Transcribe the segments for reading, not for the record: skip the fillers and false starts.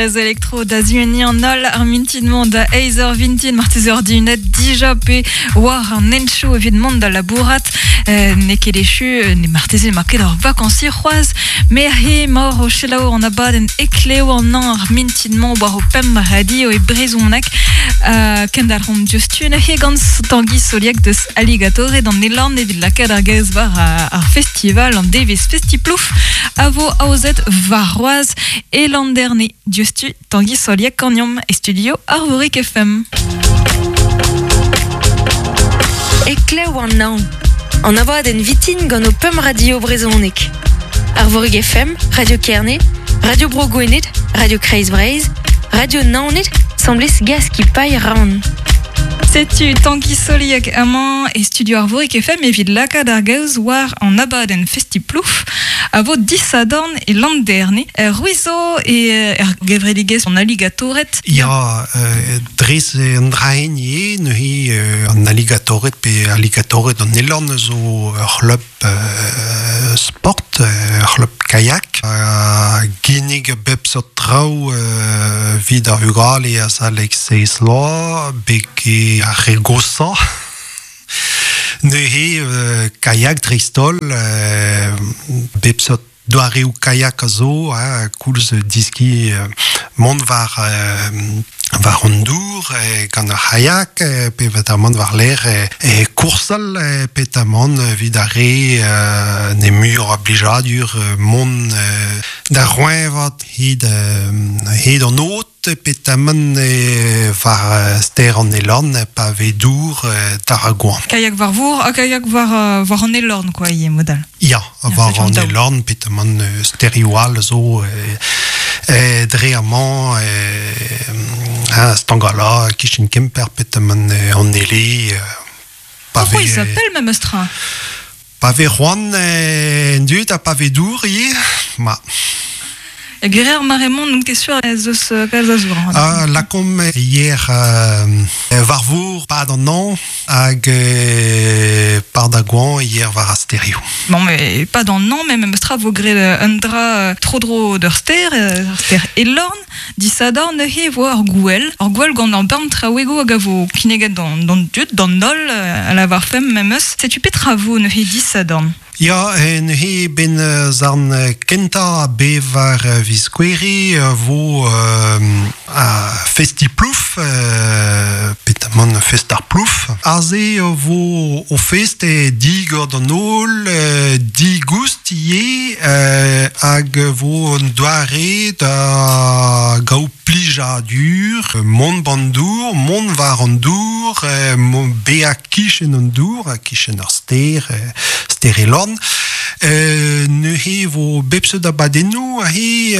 Ez elektro da ziuniñ an holl ar mintin-mañ da eizh eur vintin, marteze ur dihunet dija pe war an henchoù evit mont da labourat. Euh, n'eo ket echu, euh, ne marteze emañ ket ur vakañsiñ c'hoazh, met he emaoc'h o selaou an abadenn Eklev an hañv ar mintin-mañ war ho pemp radio e brezhoneg. Euh, kendalc'homp diouzhtu neuze gant Tangi Soliek deus Alligatore d'an Elorn evit lakaat ar gaoz war ar festival an devezh Festiplouf a vo aozet warc'hoazh E Landerne, diouzhtu Tangi Soliek ganeomp e studio Arvorig FM. Eklev an hañv. An abadenn vitin gant ho pemp radio brezhonek. Arvorig FM, Radio Kerne, Radio Bro Gwened, Radio Kreiz Breizh, Radio Naoned, 'sambles Gaskipailh Rann. Setu Tangi Soliek amañ e studio Arvorig FM evit lakaat ar gaoz war an abadenn Festiplouf a vo disadorn e Landerne. C'hwi zo e er gevredigezh an alligatored? Ya, dres an dra-hent ivez, neuze an alligatored pe alligatored an Elorn zo ur c'hlub sport, ur c'hlub kayak a ginnig a bep seurt traoù evit ar vugale azalek seizh vloaz, betek ar re goshañ. Neuze kayak dreist-holl, bep seurt doareoù kayak a zo, hein, koulz diskiñ mont war war an dour gant ar c'hayak, pe peotramant war-lerc'h e koursal, peotramant evit ar re ne muioc'h a blijadur mont da roeñvat hed hed an aod. Petamant war stêr an Elorn pa vez dour d'ar ar goañv. Kayak war vor ha kayak war, war an Elorn quoi ivez mod all. Ya, war an Elorn, petamant stêrioù all zo dre amañ Stangala, kichen Kemper, petamant an Ele. Pa Pourquoi il s'appelle memes tra? Pa vez c'hoant en dud ha pa vez dour ivez, ma. Gwir ar mare-mañ n'on ket sur ez eus kalz a zour. Ah, lakaomp hier war vor pad an hañv hag par da goañv hier war ar stêrioù. Bon, mais pas dans an hañv, mais memes tra vo graet un dra tro-dro d'ur stêr, ar stêr Elorn. Disadorn neuze e vo ur gouel, ur gouel gant ur bern traouegoù hag a vo kinniget d'an dud, d'an holl, a lavarfemp memes. Setu petra vo neuze disadorn? Ya, neuze ben zarn kentañ a bevar viz Gouere vo a Festi-Plouf, petamant fest ar plouf. Aze vo o fest e digor d'an holl, digoust ivez, hag vo un doare da gaout plijadur, mont b'an dour, mont war an dour, bezañ kichen an dour, kichen ar stêr, stêr Elorn. Neuze vo bep seurt abadennoù aze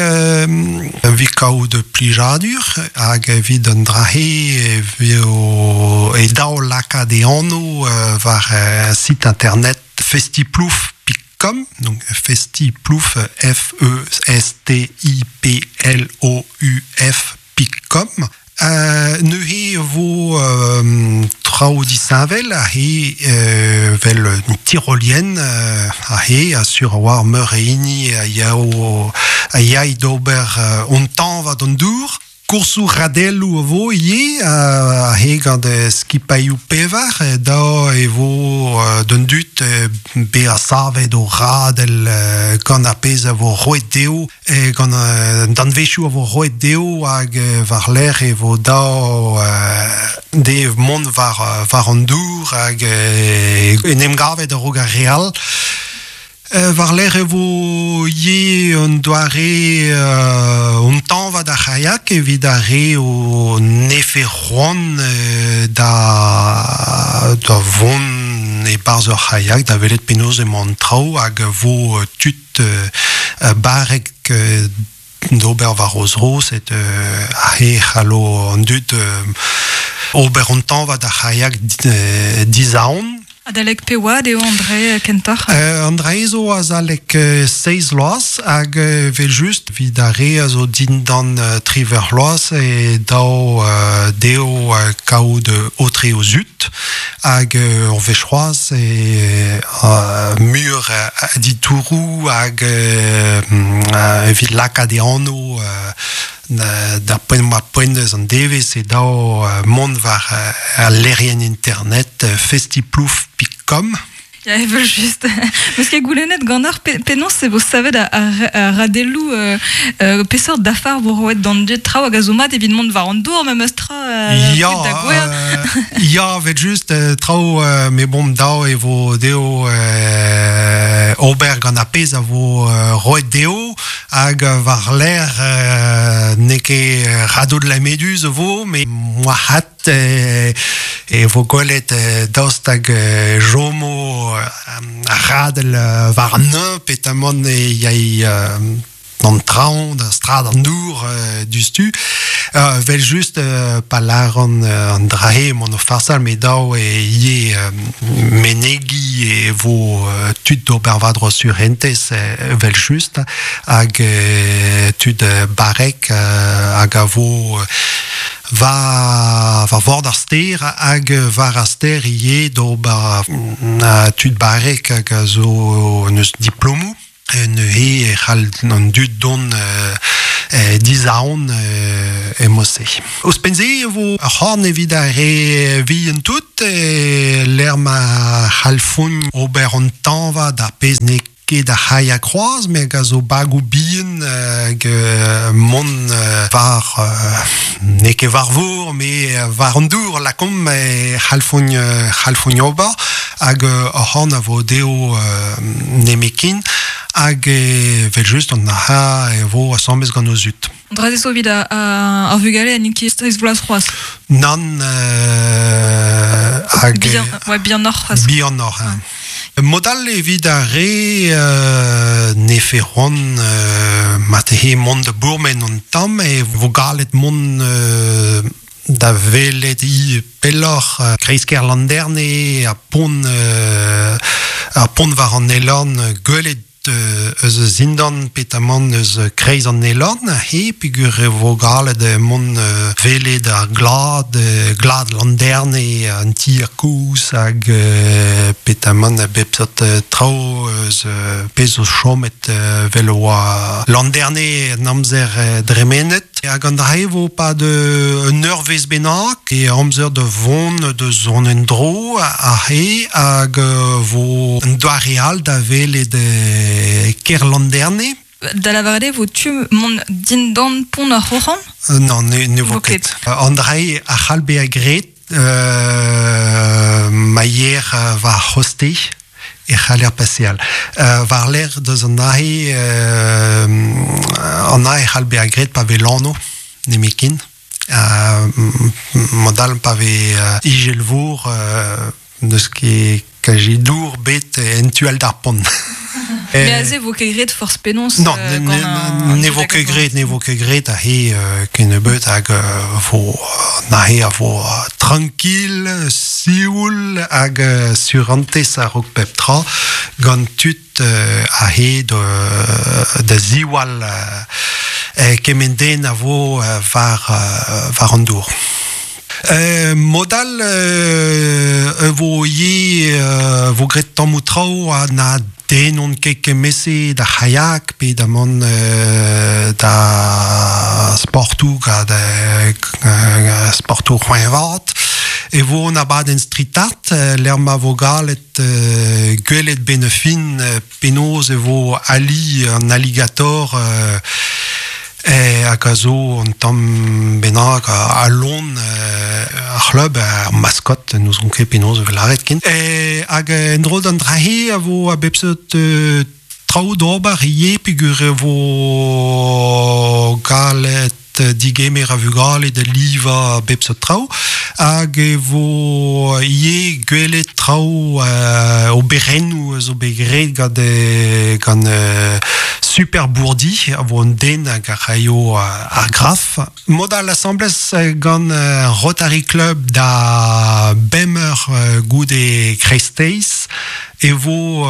evit kaout plijadur hag evit an dra-se e vo e dav lakaat e anv war site internet festiplouf.com donc festiplouf F E S T I P L O U F .com Neuze e vo traoù disheñvel aze 'vel un tirolienn aze ha sur a-walc'h meur a hini a yao a yay d'ober hon tañva d'an dour. Koursoù radelloù a vo ivez aze gant skipailhoù pevar da e vo d'an dud bezañ savet o radell gant ar pezh a vo roet dezho gant an danvezioù a vo roet dezho hag war-lerc'h e vo dav dezhe mont war war an dour hag en em gavet a-raok ar re all. War-lerc'h e vo ivez un doare un tañva d'ar c'haiak evit ar re o nefe c'hoant da da vont e-barzh ur c'haiak da welet penaos emañ an traoù hag vo tud barrek d'ober war o zro, set aze c'hallo an dud ober an tañva d'ar c'haiak dizaon. Adalek pe oad eo André kentoc'h? André zo azalek seizh vloaz hag evel-just evit ar re a zo dindan triwec'h vloaz e dav dezho kaout aotre o zud hag ur wech c'hoazh e muioc'h a ditouroù hag evit lakaat e anv da poent ma poent eus an devezh e dao mont war al lec'hienn internet festiplouf.com. Ya, evel just. Meus ket goulennet ganeoc'h penaos e vo savet ar radelloù peseurt dafar vo roet d'an dud traoù hag a zo mat evit mont war an dour memes tra ya, da gouer. Ya, evel just traoù me bon dao e vo dezho ober gant ar pezh a vo roet dezho hag war-lerc'h n'eo ket radeau de la Méduse vo, met moarvat e vo gwelet daoust hag jomo ar radell war an neuñv petamant e yay d'an traoñ, da strad an dour diouzhtu. Vel just pa lâran an dra-se emaon o farsal, met dav eo ivez menegiñ e vo tud d'ober war-dro surentez evel just hag tud barrek hag a vo war vord ar stêr hag war ar stêr ivez d'ober tud barrek hag a zo neus diplomoù. Neuze e c'hall an dud dont dizaon e-mod-se. Ouzhpenn-se e vo ur c'horn evit ar re vihan tout, lec'h ma c'hallfont ober an tañva d'ar pezh n'eo ket ar c'haiak c'hoazh, met a zo bagoù bihan hag mont war n'eo ket war vor, met war an dour lakaomp e c'hallfont ober hag ur c'horn a vo dezho nemetken hag evel-just an arc'hant e vo asambles gant o zud. An dra-se zo evit ar vugale ha n'int ket seizh vloaz c'hoazh. Nann, hag... Bihan, ouais, bihanoc'h c'hoazh. Bihanoc'h, hein. Mod all evit ar re nefe c'hoant marteze mont da bourmen an tamm e vo gallet mont da welet ivez pelloc'h kreiz-kêr Landerne ha pont ar pont war an Elorn gwelet eus zindan petamant eus kreiz an Elorn he peogwir e vo gallet mont welet ar glad glad Landerne an tier kozh hag petamant a bep seurt traoù eus pezh zo chomet 'vel oa Landerne en amzer dremenet. Hag an dra-se vo 'pad un eurvezh bennak e amzer da vont da zont en-dro aze hag vo un doare all da welet kêr Landerne. Da lavaret eo vo tu mont dindan pont ar Roc'han? Non, ne vo ket. An dra-se a c'hall bezañ graet ma yer war c'hoste. E c'haller paseal. War-lerc'h deus an aze, an aze e c'hall bezañ graet pa vez lanv nemetken. Mod-all pa vez ijelvour n'eus ket kaji dour bet en tu all d'ar pont. Mais aze vo ket graet forzh penaos. Non, ne vo ket graet, ne vo ket graet aze kennebeut hag vo aze a vo tranquil, sioul hag surentez a-raok pep tra gant tud aze da ziwall kement den a vo war war an dour. Mod all e vo ivez vo graet tammoù traoù ha na den on ket kemese da c'haiak pe da mont da sportoù gant sportoù c'hoeñvat. E vo an abadenn street art lec'h ma vo gallet gwelet 'benn ar fin penaos e vo ali an alligator hag a zo un tamm bennak a lon ar c'hlub, ar maskot, n'ouzon ket penaos e vez lâret ken. Hag en-dro d'an dra-se a vo a bep seurt traoù d'ober ivez peogwir e vo gallet digemer a vugale da livañ bep seurt traoù hag e vo ivez gwelet traoù oberennoù a zo bet graet gant gant Super Bourdi a vo un den hag a raio ar graf. Mod all asambles gant Rotary Club da bemp eur goude kreisteiz e vo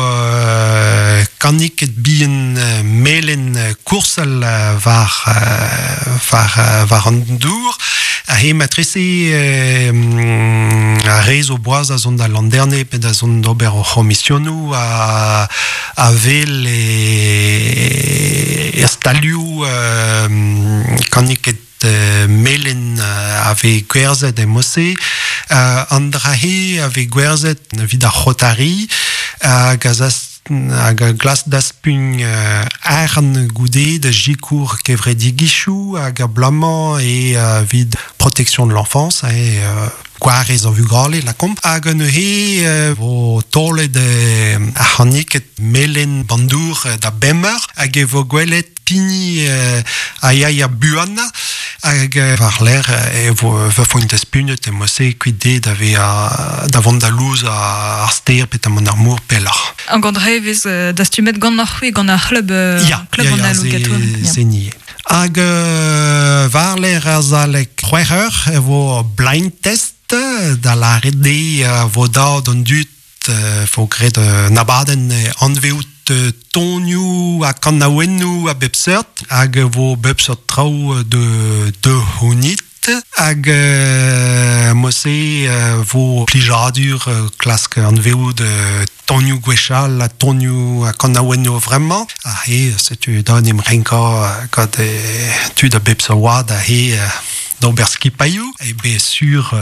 kaniked bihan melen koursel war war war an dour. A he matrese a rez o boaz a zon da landerne pe da zon d'ober o c'homisionou a vel e stalioù kaniket melen ave gwerzet e mose, an drahe ave gwerzet vid ar c'hotari, hag hag a glas daspugn arn goude da jikour kevredigichou hag a blamañ e vid protection de l'enfance e gwarez an vugale la komp. Hag an neuze vo tolet ar c'haniket melen bandour da bemmer hag e vo gwelet pini a yaia buanna hag war l'air e vo foint daspunet e mose kuit de da ve da vont da louz ar ster pet amant ar mour pelloc'h. An gant revez dastumet gant ar c'hwi gant ar c'hlub club an allogator. Se nie. Hag war l'air ar zalek c'hwec'h eur e vo blind test da lâret de vo da d'an dud fo gret un abadenn anveout tonioù ha kanaouennoù a bep seurt hag vo bep seurt traoù de honit hag mose vo plijadur klask anveout tonioù gwechall ha tonioù ha kanaouennoù vraiment ha he setu da em renka gant tud a bep seurt oad ha he d'ober skipailhoù e be sur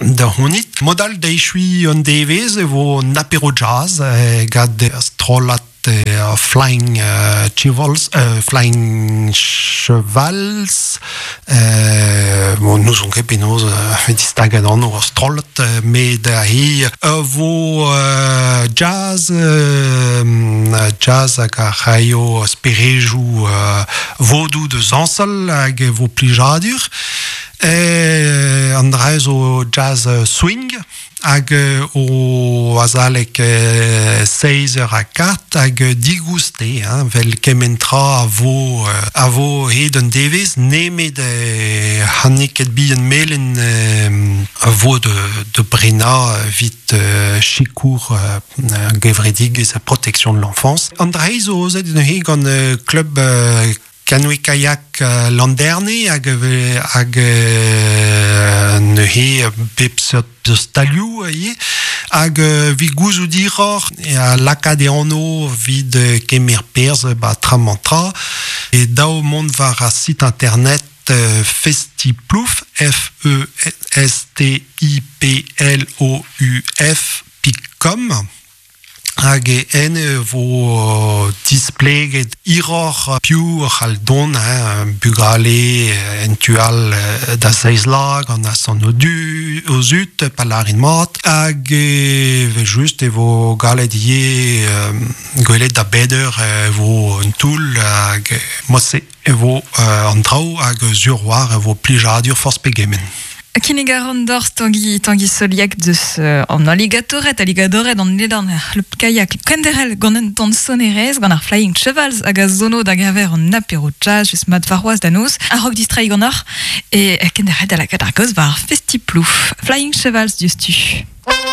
da honit. Modal da echui an devez e vo un apéro jazz gant strollad Flying Chevals, Flying Chevals, bon, nous on ket penaos distaget an ur strollad, met da he vo jazz, jazz hag ar c'haio sperejou vodou de zansal hag vo plijadur. An dra zo jazz swing hag o azalek 16 eur a kart hag digouste, hein, vel kementra a vo hed un devez, nemet hanniket bihan melen a vo de brena vit chikour gevredigez a protection de l'enfance. An dra zo ozet neuze gant club canoë kayak landerne hag neuze bep seurt stalioù ivez hag vi gouzout diroc'h a lakaat e anv vid kemer perzh ba tra-mañ tra e daou mont war ar site internet Festiplouf F-E-S-T-I-P-L-O-U-F.com hag e en vo displeget iroc'h piv c'hall don, hein, bugale en tual da seizh-lag an asan o du o zut pa larin mat hag e ve just e vo galet ivez gwelet da beder e vo un toull hag mose e vo an traoù hag sur war e vo plijadur forzh pegement. Kinnig a ran d'or Tanguy Soliak deus an alligatoret, alligatoret an ledan ar c'hlub kayak kenderel gant un tan sonerez gant ar Flying Chevals hag a zono da gaver an apéro jazz just mat varroaz da noz a rok distrai gant ar e kenderel da lakaat ar goz war Festiplouf. Flying Chevals diouzhtu.